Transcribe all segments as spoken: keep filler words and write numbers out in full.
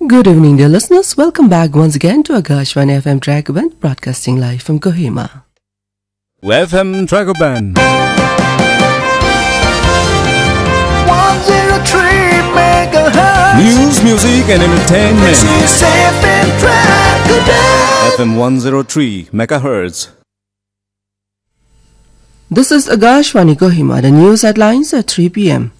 Good evening, dear listeners. Welcome back once again to Akashvani F M Dragon, broadcasting live from Kohima. F M Dragon. One zero three megahertz. News, music, and entertainment. This is F M Dragon. F M one zero three megahertz. This is Akashvani Kohima. The news headlines at three p m.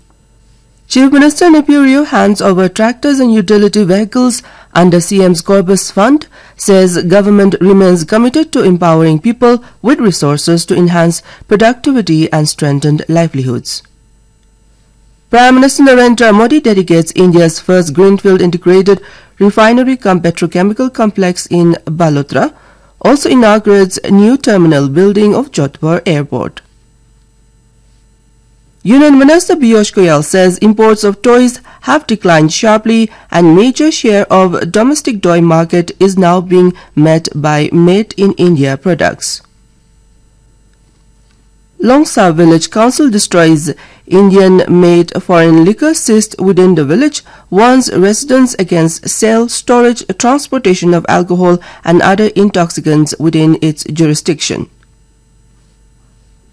Chief Minister Neiphiu Rio hands over tractors and utility vehicles under C M's Corpus Fund, says government remains committed to empowering people with resources to enhance productivity and strengthen livelihoods. Prime Minister Narendra Modi dedicates India's first greenfield integrated refinery cum petrochemical complex in Balotra, also inaugurates new terminal building of Jodhpur Airport. Union Minister Piyush Goyal says imports of toys have declined sharply and major share of domestic toy market is now being met by made in India products. Longsa Village Council destroys Indian made foreign liquor seized within the village, warns residents against sale, storage, transportation of alcohol and other intoxicants within its jurisdiction.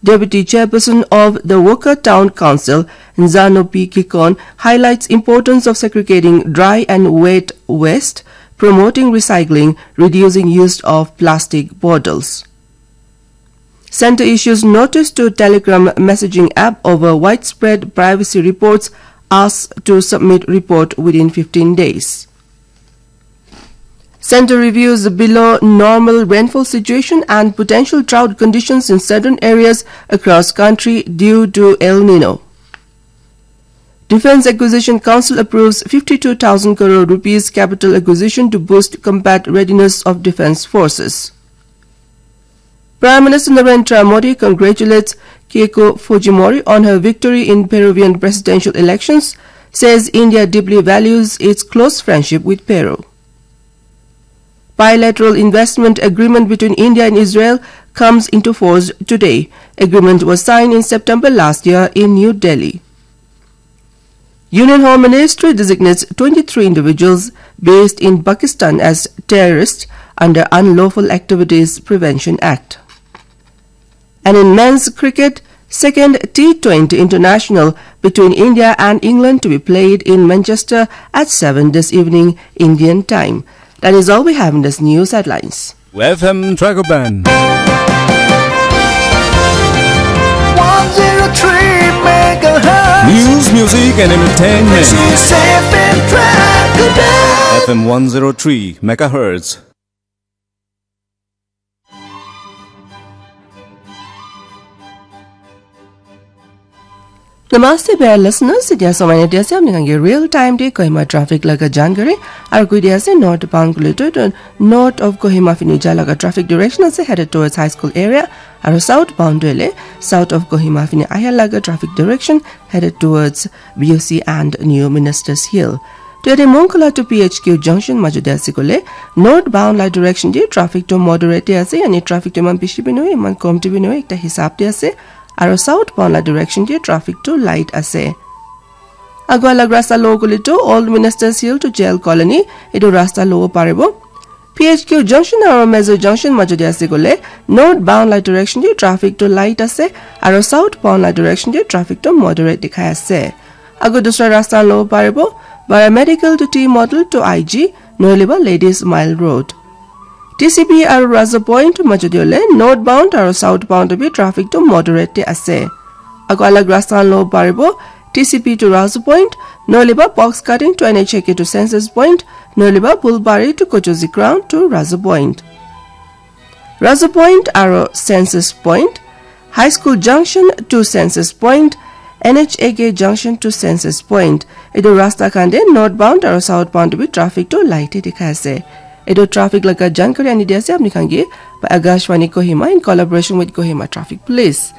Deputy Chairperson of the Wokha Town Council, Nzano P. Kikon, highlights importance of segregating dry and wet waste, promoting recycling, reducing use of plastic bottles. Centre issues notice to Telegram messaging app over widespread privacy reports, asks to submit report within fifteen days. Centre reviews below normal rainfall situation and potential drought conditions in certain areas across country due to El Nino. Defence Acquisition Council approves fifty-two thousand crore rupees capital acquisition to boost combat readiness of defence forces. Prime Minister Narendra Modi congratulates Keiko Fujimori on her victory in Peruvian presidential elections, says India deeply values its close friendship with Peru. Bilateral investment agreement between India and Israel comes into force today. Agreement was signed in September last year in New Delhi. Union Home Ministry designates twenty-three individuals based in Pakistan as terrorists under Unlawful Activities Prevention Act. And in men's cricket, second T twenty international between India and England to be played in Manchester at seven this evening, Indian time. That is all we have in this news headlines. F M Dragon. One zero three megahertz. News, music, and entertainment. This is F M Dragon. F M one zero three megahertz. Namaste, dear listeners. Etia samai na dia ase apni khan ke real time te Kohima traffic laga jankari. Aru koi dia ase northbound kule tu, tu north of Kohima fini ja laga traffic direction ase headed towards High School area. Aru southbound tu ele south of Kohima fini aya laga traffic direction headed towards B O C and New Ministers Hill. To yate Mongkala to P H Q junction majot te ase kole northbound la direction te traffic to moderate te ase, yani traffic to iman bishi bi nohoi, iman kom te bi nohoi, ekta hisab te ase. Aru southbound la direction te traffic to light ase. Agua laga rasta lo kole to Old Ministers Hill to Jail Colony, etu rasta lo paribo. P H Q junction aru Mezo junction majot te ase kole northbound la direction te traffic to light ase, aru southbound la direction te traffic to moderate dikhai ase. Aru dusra rasta lo paribo, Bara Medical to T Model to I G, nohole ba Ladies Mile Road. T C P aru Raza Point majot te ole northbound aru southbound te bi traffic to moderate te ase. Aru alag rasta lo paribo, T C P to Raza Point, nohole ba Box Cutting to N H A K to Census Point, nohole ba Bulbari to Kochozi Ground to Raza Point. Raza Point aru Census Point, High School Junction to Census Point, N H A K Junction to Census Point. Etu rasta khan te northbound aru southbound te bi traffic to light te dikhai ase. Etu traffic laga jankari ani di ase apni khan ke by Akashvani Kohima in collaboration with Kohima Traffic Police.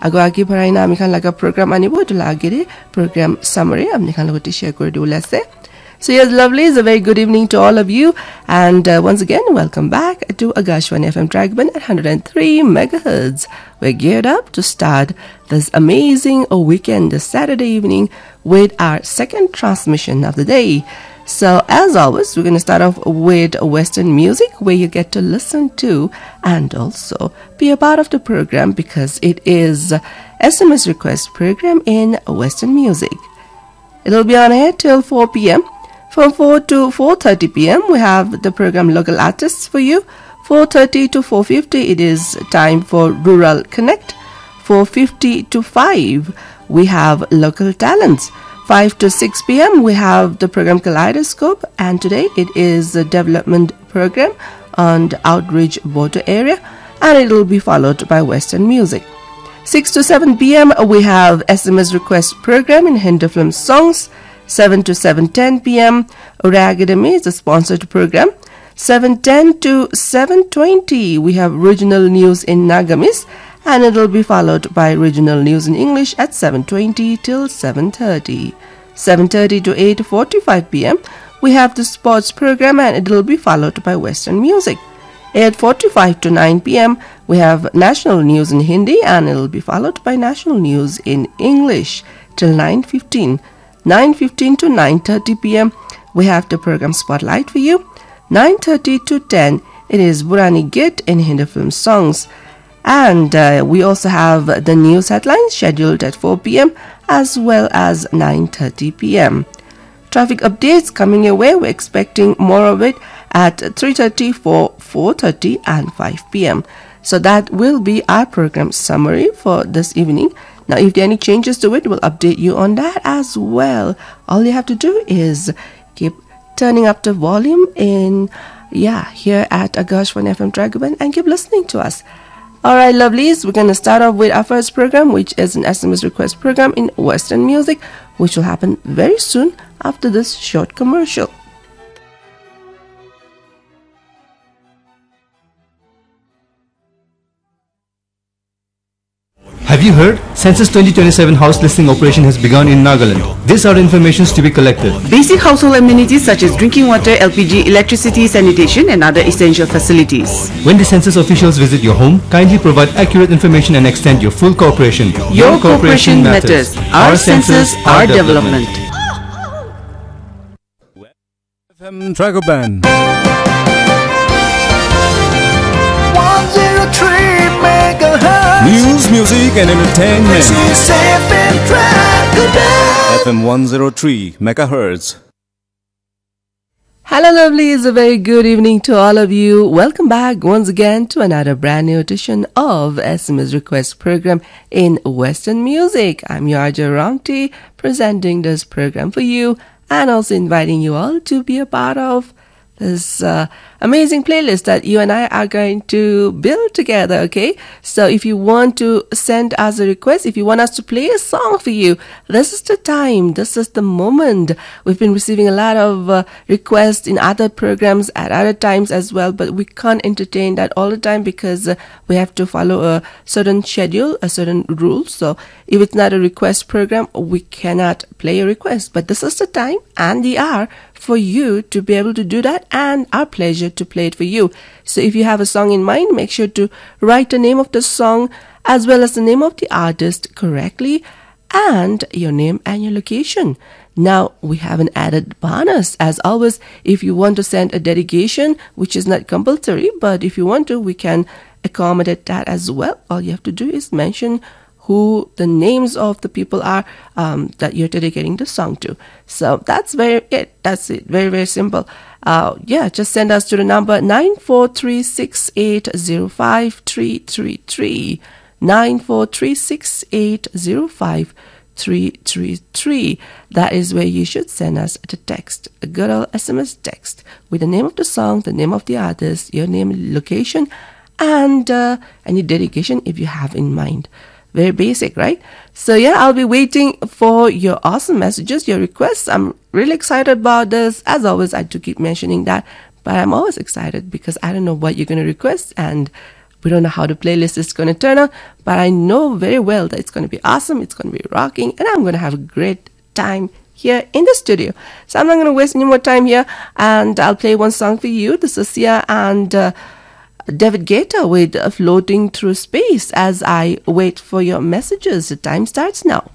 Aru age barai na ami khan laga program anibo, etu la age te program summary apni khan logot te share kuri dibole ase. So yes, lovely. It's a very good evening to all of you. And, uh, once again, welcome back to Akashvani F M Dragon at hundred and three megahertz. We're geared up to start this amazing, uh, weekend, this Saturday evening, with our second transmission of the day. So, as always, we're going to start off with Western music where you get to listen to and also be a part of the program because it is S M S request program in Western music. It'll be on air till four p m. From four to four thirty p m, we have the program Local Artists for you. Four thirty to four fifty, it is time for Rural Connect. Four fifty to five, we have Local Talents. Five to six p m, we have the program Kaleidoscope, and today it is a development program on the Outerbridge border area, and it will be followed by Western music. Six to seven p m, we have S M S request program in Hindi film songs. Seven to seven ten p m, Ura Academy is a sponsored program. Seven ten to seven twenty, we have regional news in Nagamese, and it'll be followed by regional news in English at seven twenty till seven thirty. Seven thirty to eight forty-five p m, we have the sports program, and it'll be followed by Western music. Eight forty-five to nine p m, we have national news in Hindi, and it'll be followed by national news in English till nine fifteen. Nine fifteen to nine thirty p m, we have the program Spotlight for you. Nine thirty to ten, it is Burani Git in Hindi film songs. And uh, we also have the news headlines scheduled at four p m as well as nine thirty p m. Traffic updates coming your way. We're expecting more of it at three thirty, four, four thirty, and five p m. So that will be our program summary for this evening. Now, if there are any changes to it, we'll update you on that as well. All you have to do is keep turning up the volume in, yeah, here at Akashvani F M Dragoban, and keep listening to us. All right, lovelies, we're going to start off with our first program, which is an S M S request program in Western music, which will happen very soon after this short commercial. Have you heard? Census twenty twenty-seven house listing operation has begun in Nagaland. These are informations to be collected. Basic household amenities such as drinking water, L P G, electricity, sanitation, and other essential facilities. When the census officials visit your home, kindly provide accurate information and extend your full cooperation. Your cooperation matters. Our census, our development. F M Dragoban. One zero three megahertz. News, music, and entertainment. This is F M Dragoban. F M one zero three megahertz. Hello, lovelies. A very good evening to all of you. Welcome back once again to another brand new edition of S M S Request Program in Western Music. I'm your R J Ramti, presenting this program for you and also inviting you all to be a part of this uh, amazing playlist that you and I are going to build together, okay? So if you want to send us a request, if you want us to play a song for you, this is the time, this is the moment. We've been receiving a lot of uh, requests in other programs at other times as well, but we can't entertain that all the time because uh, we have to follow a certain schedule, a certain rule. So if it's not a request program, we cannot play a request. But this is the time and the hour for you to be able to do that, and our pleasure to play it for you. So if you have a song in mind, make sure to write the name of the song as well as the name of the artist correctly and your name and your location. Now, we have an added bonus. As always, if you want to send a dedication, which is not compulsory, but if you want to, we can accommodate that as well. All you have to do is mention who the names of the people are um, that you're dedicating the song to. So that's very it. That's it. Very, very simple. Uh, yeah, just send us to the number nine four three six eight zero five three three three. Nine four three six eight zero five three three three. That is where you should send us the text, a good old S M S text with the name of the song, the name of the artist, your name, location, and uh, any dedication if you have in mind. Very basic, right? So, yeah, I'll be waiting for your awesome messages, your requests. I'm really excited about this. As always, I do keep mentioning that, but I'm always excited because I don't know what you're going to request, and we don't know how the playlist is going to turn out. But I know very well that it's going to be awesome, it's going to be rocking, and I'm going to have a great time here in the studio. So I'm not going to waste any more time here, and I'll play one song for you. This is Sia and uh, David Guetta with Floating Through Space as I wait for your messages. The time starts now.